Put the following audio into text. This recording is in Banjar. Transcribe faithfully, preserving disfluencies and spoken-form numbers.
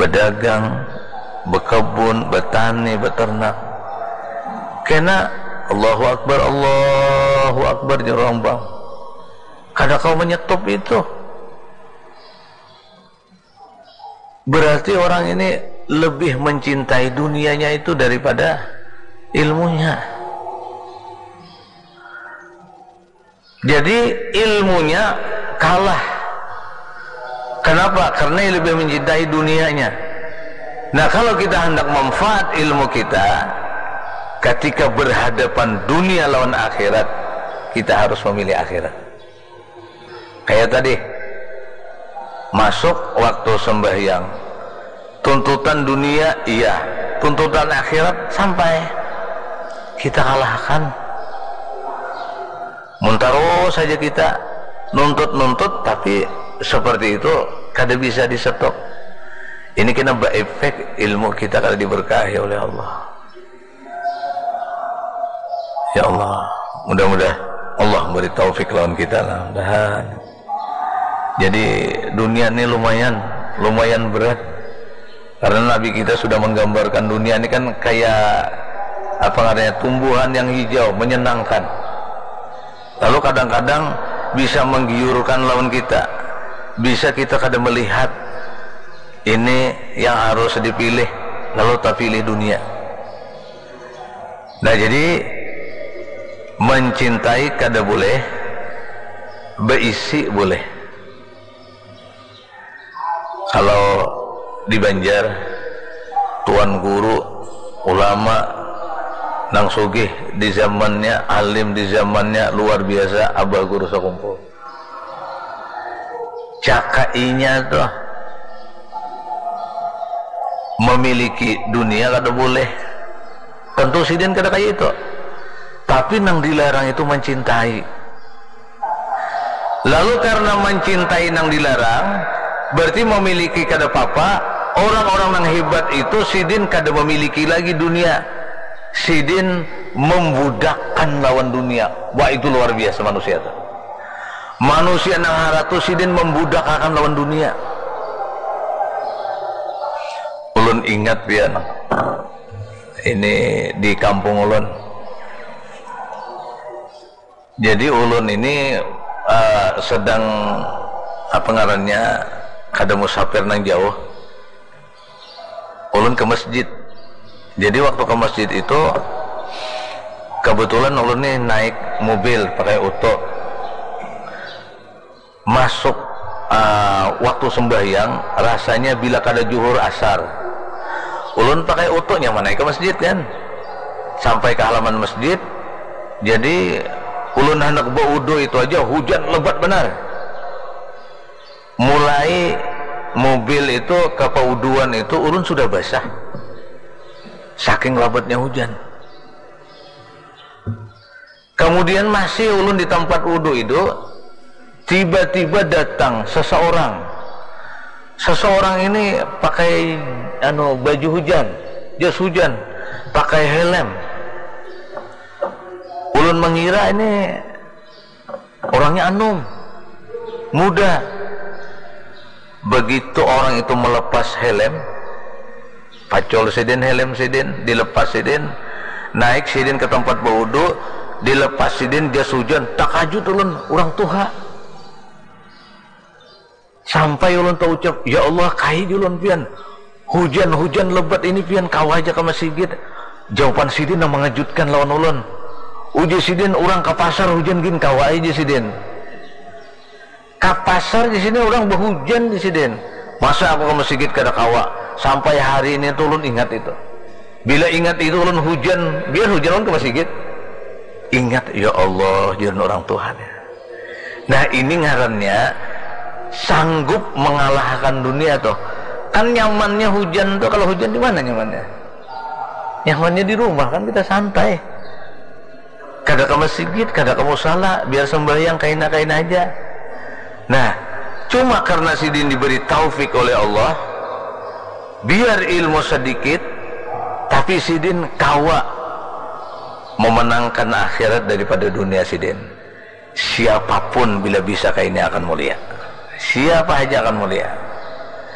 dagang, bekebun, betani, beternak. Kena Allahu Akbar, Allahu Akbar jar urang bang. Kada kawa menyetop itu. Berarti orang ini lebih mencintai dunianya itu daripada ilmunya. Jadi ilmunya kalah. Kenapa? Karena ia lebih mencintai dunianya. Nah, kalau kita hendak manfaat ilmu kita, ketika berhadapan dunia lawan akhirat, kita harus memilih akhirat. Kayak tadi, masuk waktu sembahyang, tuntutan dunia iya, tuntutan akhirat sampai kita kalahkan. Mun tarus saja kita nuntut-nuntut, tapi seperti itu kada bisa disetop. Ini kena beefek ilmu kita kada diberkahi oleh Allah. Ya Allah, mudah-mudahan Allah memberi taufik lawan kita lah, mudahan. Jadi dunia ini lumayan, lumayan berat. Karena Nabi kita sudah menggambarkan dunia ini kan kayak apa namanya, tumbuhan yang hijau, menyenangkan. Lalu kadang-kadang bisa menggiurkan lawan kita, bisa kita kada melihat ini yang harus dipilih, lalu terpilih dunia. Nah, jadi mencintai kada boleh, beisi boleh. Kalau di Banjar, tuan guru, ulama nang sugih di zamannya, alim di zamannya, luar biasa, Abah Guru Sakumpul. Cakainya tuh memiliki dunia kada boleh. Tentu sidin kada kaya itu. Tapi nang dilarang itu mencintai. Lalu karena mencintai nang dilarang, berarti memiliki kada papa. Orang-orang nang hebat itu sidin kada memiliki lagi dunia. Sidin membudakkan lawan dunia. Wah, itu luar biasa manusia tu. Manusia nang hara tu sidin membudakakan lawan dunia. Ulun ingat pian ini di kampung ulun. Jadi ulun ini eh, sedang apa ngarannya, kada musafir nang jauh. Ulun ke masjid. Jadi waktu ke masjid itu kebetulan ulun nih naik mobil pakai oto. Masuk ah, waktu sembahyang rasanya bila kada juhur asar. Ulun pakai oto nyaman naik ke masjid kan. Sampai ke halaman masjid. Jadi ulun hendak baudu itu aja hujan lebat benar. Mulai mobil itu ke pauduan itu ulun sudah basah. Saking labatnya hujan. Kemudian masih ulun di tempat wudu itu, tiba-tiba datang seseorang. Seseorang ini pakai anu baju hujan, jas hujan, pakai helm. Ulun mengira ini orangnya anum, muda. Begitu orang itu melepas helm, pacul sidin helm sidin, dilepas sidin, naik sidin ke tempat baudu, dilepas sidin jas hujan, takajut ulun, urang tuha. Sampai ulun taucap, "Ya Allah, kahi ulun pian. Hujan-hujan lebat ini pian kawa aja ke masigit." Jawaban sidin nang mengejutkan lawan ulun. Uji sidin, "Urang ke pasar hujan gin kawa aja sidin." Ka pasar di sini orang behujan di sini. Masa aku ke masigit kada kawa? Sampai hari ini tuh ulun ingat itu. Bila ingat itu ulun hujan, biar hujan ulun ke masigit. Ingat, ya Allah, jangan orang Tuhan ya. Nah, ini ngarannya sanggup mengalahkan dunia tuh. Kan nyamannya hujan tuh, kalau hujan di mana nyamannya? Nyamannya di rumah kan kita santai. Kada ke masigit, kada ke musala, biar sembahyang kaina-kaina aja. Nah, cuma karena sidin diberi taufik oleh Allah, biar ilmu sedikit, tapi sidin kawa memenangkan akhirat daripada dunia sidin. Siapapun bila bisa kaini akan mulia. Siapa aja akan mulia.